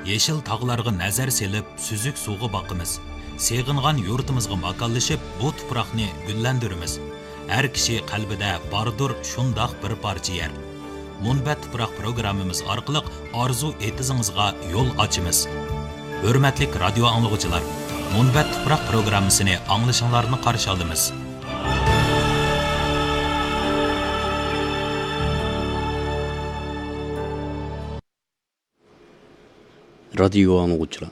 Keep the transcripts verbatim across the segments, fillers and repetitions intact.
يېشىل تاغلارغا نەزەر سېلىپ، سۈزۈك سۇغا باقىمىز. سېغىنغان يۇرتىمىزغا ماكانلىشىپ، بۇ تۇپراقنى گۈللەندۈرىمىز. ھەر كىشى قەلبىدە باردۇر شۇنداق بىر پارچە يەر. مۇنبەت تۇپراق پروگراممىمىز ئارقىلىق ئارزۇ ئېتىزىڭىزغا يول ئاچىمىز. ھۆرمەتلىك رادىيو ئاڭلىغۇچىلار، مۇنبەت تۇپراق پروگراممىسىنى ئاڭلىشىڭلارنى قارشى ئالىمىز. رادىيو ئاڭلىغۇچىلار،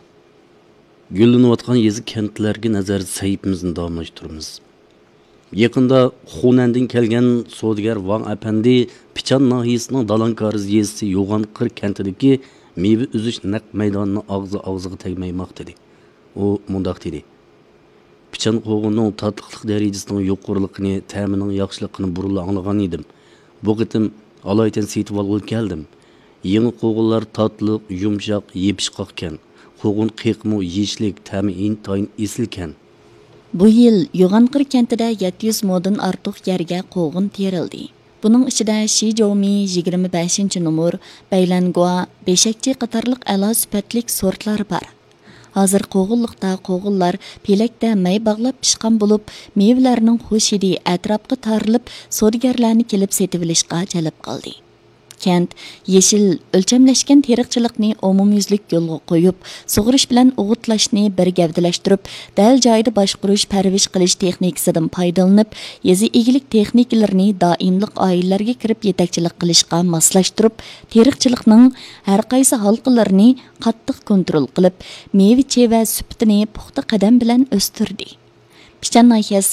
گۈللىنىۋاتقان يېزا كەنتلەرگە نەزەر سەھىپىمىزنى داۋاملاشتۇرىمىز. يېقىندا خۇنەندىن كەلگەن سودىگەر ۋاڭ ئەپەندى پىچان ناھىيەسىنىڭ دالانكارىز يېزىسى يوغان قىر كەنتىدىكى مېۋە ئۈزۈش نەق مەيدانىنى ئاغزى ئاغزىغا تەگمەي ماختىدى. ئۇ مۇنداق دېدى: پىچان قوغۇننىڭ تاتلىقلىق دەرىجىسىنىڭ يۇقىرىلىقىنى، تەمىنىڭ ياخشىلىقىنى بۇرۇنلا ئاڭلىغان ئىدىم. بۇ قېتىم ئالايىتەن سېتىۋالغىلى كەلدىم. يېڭى قوغۇنلار تاتلىق، يۇمشاق، يېپىشقاقكەن. قوغۇن قېقىمۇ يېيىشلىك، تەمى ئىنتايىن ئېسىلكەن. بۇ يىل يوغانقىر كەنتىدە يەتتە يۈز مودىن ئارتۇق يەرگە قوغۇن تېرىلدى. بۇنىڭ ئىچىدە شىجومى يىگىرمە بەشىنچى نومۇر، بەيلەنگۇا، بېشەكچى قاتارلىق ئەلا سۈپەتلىك سورتلار بار. ھازىر قوغۇنلۇقتا قوغۇنلار پېلەكتە مەي باغلاپ پىشقان بولۇپ، مېۋىلەرنىڭ خۇش ھىدى ئەتراپقا تارىلىپ، سودىگەرلەرنى كېلىپ سېتىۋېلىشقا جەلپ قىلدى. كەنت يېشىل، ئۆلچەملەشكەن تېرىقچىلىقنى ئومۇميۈزلۈك يولغا قويۇپ، سۇغىرىش بىلەن ئوغۇتلاشنى بىر گەۋدىلەشتۈرۈپ، دەل جايىدا باشقۇرۇش، پەرۋىش قىلىش تېخنىكىسىدىن پايدىلىنىپ، يېزا ئىگىلىك تېخنىكىلىرىنى دائىملىق ئائىلىلەرگە كىرىپ يېتەكچىلىك قىلىشقا ماسلاشتۇرۇپ، تېرىقچىلىقنىڭ ھەر قايسى ھالقىلىرىنى قاتتىق كونترول قىلىپ، مېۋە-چېۋە سۈپىتىنى پۇختا قەدەم بىلەن ئۆستۈردى. پىچان ناھىيەسى